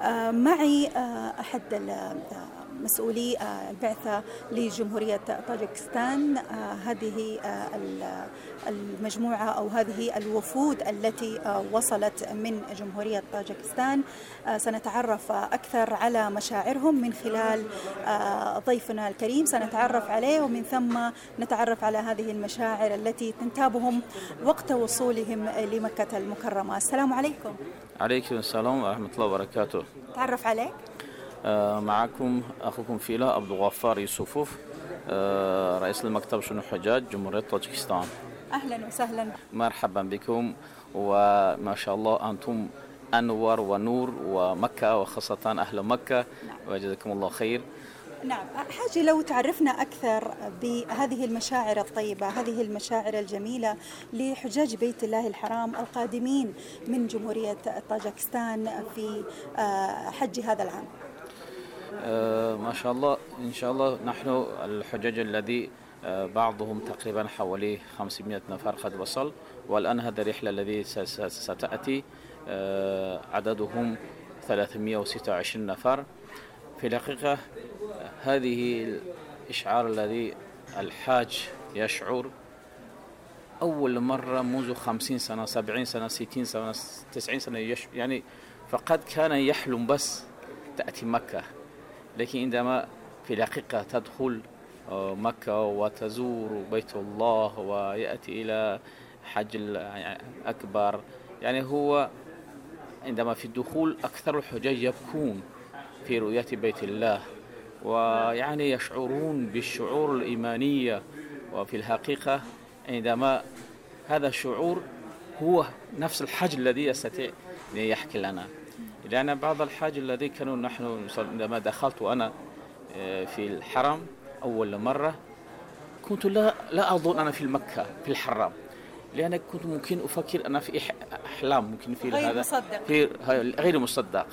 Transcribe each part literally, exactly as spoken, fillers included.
آه، معي آه، أحد مسؤولي البعثة لجمهورية طاجكستان. هذه المجموعة أو هذه الوفود التي وصلت من جمهورية طاجكستان سنتعرف أكثر على مشاعرهم من خلال ضيفنا الكريم، سنتعرف عليه ومن ثم نتعرف على هذه المشاعر التي تنتابهم وقت وصولهم لمكة المكرمة. السلام عليكم. عليكم السلام ورحمة الله وبركاته. تعرف عليك؟ آه معكم أخوكم فيلا عبد الغفار يوسفوف، آه رئيس المكتب شؤون الحجاج جمهورية طاجكستان. أهلا وسهلا. مرحبا بكم، وما شاء الله أنتم أنور ونور ومكة وخاصة أهل مكة. نعم. وجزاكم الله خير. نعم، حاجة لو تعرفنا أكثر بهذه المشاعر الطيبة، هذه المشاعر الجميلة لحجاج بيت الله الحرام القادمين من جمهورية طاجكستان في حج هذا العام. آه ما شاء الله، إن شاء الله نحن الحجاج الذي آه بعضهم تقريبا حوالي خمسمائة نفر قد وصل، والآن هذه الرحلة التي ستأتي آه عددهم ثلاثمائة وستة وعشرين نفر. في الحقيقة هذه الإشعار الذي الحاج يشعر أول مرة منذ خمسين سنة سبعين سنة ستين سنة تسعين سنة يش يعني فقد كان يحلم بس تأتي مكة، لكن عندما في الحقيقة تدخل مكة وتزور بيت الله ويأتي إلى حج الأكبر، يعني هو عندما في الدخول أكثر الحجاج يبكون في رؤية بيت الله، ويعني يشعرون بالشعور الإيمانية. وفي الحقيقة عندما هذا الشعور هو نفس الحج الذي يستطيع أن يحكي لنا، لأن بعض الحج الذي كانوا نحن عندما دخلت أنا في الحرم أول مرة كنت لا لا أظن أنا في مكة في الحرم، لأن كنت ممكن أفكر أنا في أحلام، ممكن في غير هذا مصدق. في غير مصدق.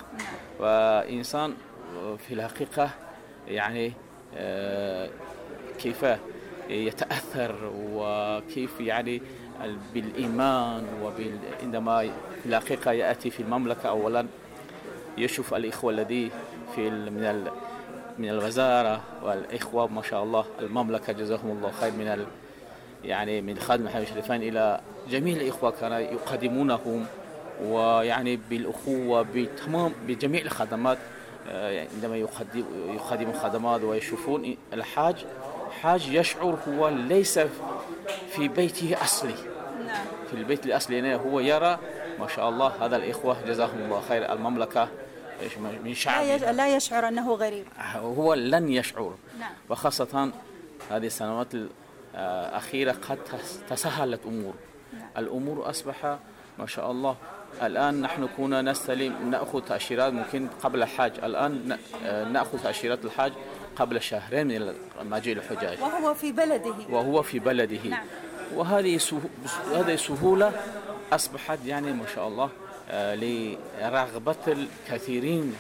وإنسان في الحقيقة يعني كيف يتأثر وكيف يعني بالإيمان، وعندما في الحقيقة يأتي في المملكة أولا يشوف الإخوة الذي في من من الوزارة والإخوة ما شاء الله المملكة جزاهم الله خير، من ال يعني من خادم الحرمين الشريفين إلى جميع الإخوة كانوا يقدمونهم، ويعني بالأخوة بتمام بجميع الخدمات. عندما يقدم يقدم الخدمات ويشوفون الحاج حاج يشعر هو ليس في بيته أصلي. نعم. في البيت الأصلي هنا هو يرى ما شاء الله هذا الإخوة جزاهم الله خير المملكة من شعب لا يشعر أنه غريب، هو لن يشعر. نعم. وخاصة هذه السنوات الأخيرة قد تسهلت أمور. نعم. الأمور أصبح ما شاء الله الآن نحن كنا نستلم نأخذ تأشيرات ممكن قبل الحج، الآن نأخذ تأشيرات الحج قبل شهرين من مجيء الحجاج، وهو في بلده وهو في بلده. نعم. وهذه هذه سهولة أصبحت يعني ما شاء الله لرغبة الكثيرين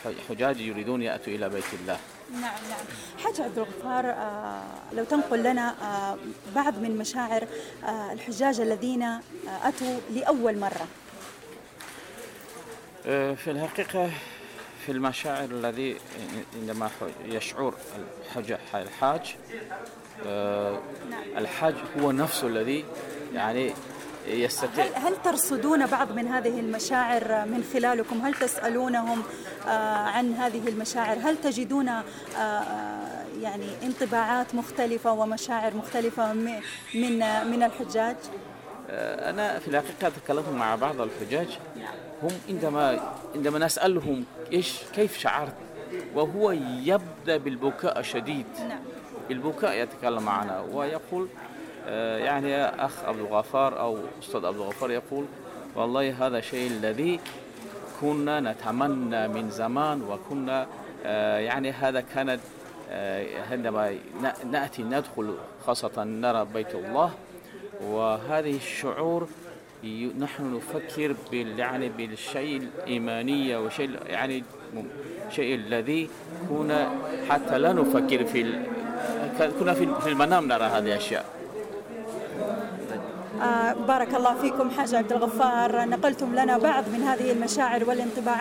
الحجاج يريدون يأتوا إلى بيت الله. نعم نعم. حاج عبد الغفار، آه لو تنقل لنا آه بعض من مشاعر آه الحجاج الذين آه أتوا لأول مرة. آه في الحقيقة في المشاعر الذي عندما يشعر الحاج آه نعم. الحاج هو نفسه الذي يعني يستطيع. هل, هل ترصدون بعض من هذه المشاعر من خلالكم؟ هل تسألونهم آه عن هذه المشاعر؟ هل تجدون آه يعني انطباعات مختلفة ومشاعر مختلفة من من الحجاج؟ آه أنا في الحقيقة تكلمت مع بعض الحجاج، هم عندما عندما نسألهم إيش كيف شعرت، وهو يبدأ بالبكاء الشديد. نعم. بالبكاء يتكلم معنا ويقول يعني يا أخ عبد الغفار أو أستاذ عبد الغفار يقول والله هذا الشيء الذي كنا نتمنى من زمان، وكنا يعني هذا كانت عندما نأتي ندخل خاصة نرى بيت الله، وهذه الشعور نحن نفكر بال يعني بالشيء الإيمانية وشيء يعني شيء الذي كنا حتى لا نفكر في كنا في المنام نرى هذه الأشياء. آه بارك الله فيكم حاج عبد الغفار، نقلتم لنا بعض من هذه المشاعر والانطباعات.